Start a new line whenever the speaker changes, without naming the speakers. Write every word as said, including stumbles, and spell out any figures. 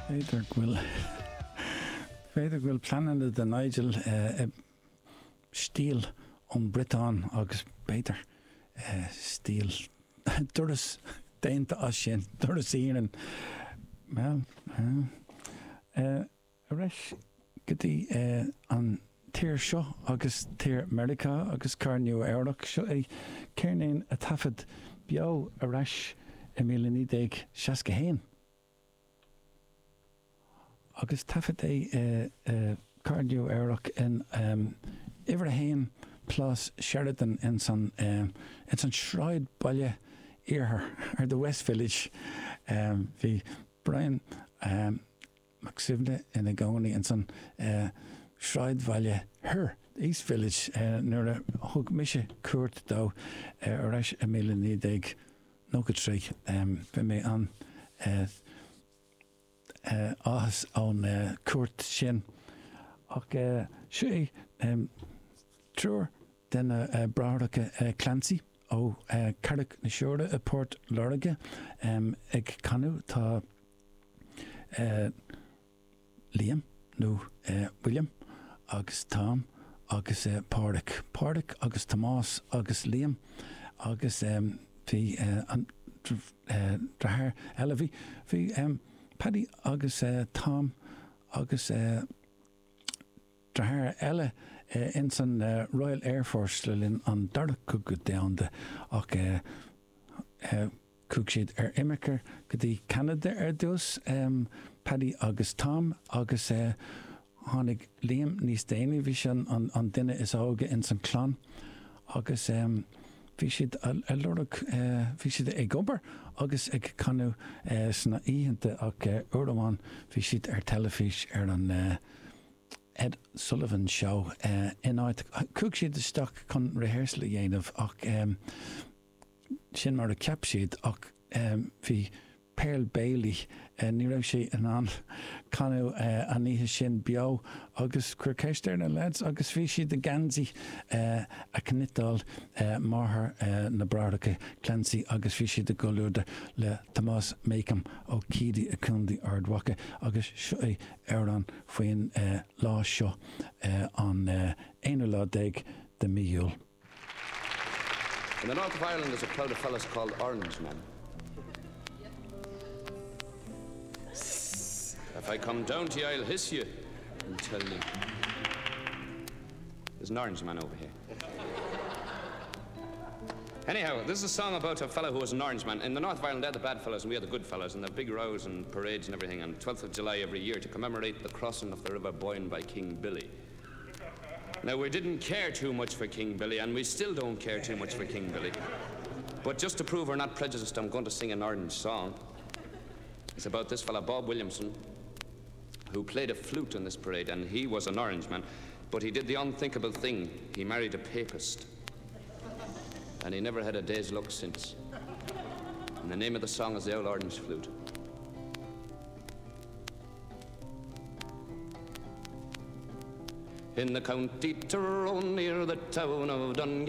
B'fhéidir go bhfuil b'fhéidir go bhfuil pleananna do Nigel stíl ón Briotáin agus b'fhéidir stíl doras déanta as sin doras iarainn. Well ar ais go dtí an tír seo agus tír Meiriceá agus cathair Nua Eabhrac seo é ceirnín a taifead beo ar ais i míle naoi déag seasca haon. Agus taifead é i cathair Nua Eabhrac in uimhir a haon Plás Sheridan ins an ins an sráidbhaile iarthar or the West Village. Bhí Brian Mac Suibhne ina gcónaí ins an sráidbhaile thoir, the East Village, nuair a thug mise cuairt dó ar ais i míle naoi déag nócha trí. Bhí mé an áthas ón cuairt sin. Ach seo é triúr de na bráithreacha Clancy ó Carraig na Siúire i bPort Láirge ag canadh. Tá Liam nó William agus Tom agus Pádraic. Pádraic agus Tomás agus Liam agus bhí an deartháir eile, bhí bhí Paddy agus Tom agus deartháir eile ins an Royal Air Force le linn an Dara Cogadh Domhanda ach chuaigh siad ar imirce go dtí Ceanada ar dtús, Paddy agus Tom agus tháinig Liam níos déanaí, bhí sé an duine is óige ins an chlann agus bhí siad ag lorg, bhí siad ag obair agus ag canadh sna oícheanta ach uair amháin bhí siad ar teilifís ar an Ed Sullivan Show in áit, chuaigh siad isteach chun rehearsal a dhéanamh ach sin mar a cheap siad ach bhí Pearl Bailey, ní raibh sé in ann canadh an oíche sin beo agus cuir ceist ar na lads agus bhí siad i ngeansaí a chniotáil máthair na bráithreacha Clancy agus bhí siad i gcomhluadar le Tomás Makem ó Keady i gContae Ard Mhacha agus seo é amhrán faoin lá seo an aonú lá déag de mí Iúil.
In the north of Ireland there's a crowd of fellas called Orange Men. If I come down to you, I'll hiss you and tell you. There's an orange man over here. Anyhow, this is a song about a fellow who was an orange man. In the north of Ireland, they're the bad fellows and we are the good fellows, and the big rows and parades and everything on twelfth of July every year to commemorate the crossing of the River Boyne by King Billy. Now, we didn't care too much for King Billy, and we still don't care too much for King Billy. But just to prove we're not prejudiced, I'm going to sing an orange song. It's about this fellow, Bob Williamson, who played a flute in this parade, and he was an orange man, but he did the unthinkable thing. He married a papist. And he never had a day's luck since. And the name of the song is The Old Orange Flute. In the county Tyrone, near the town of Dungal,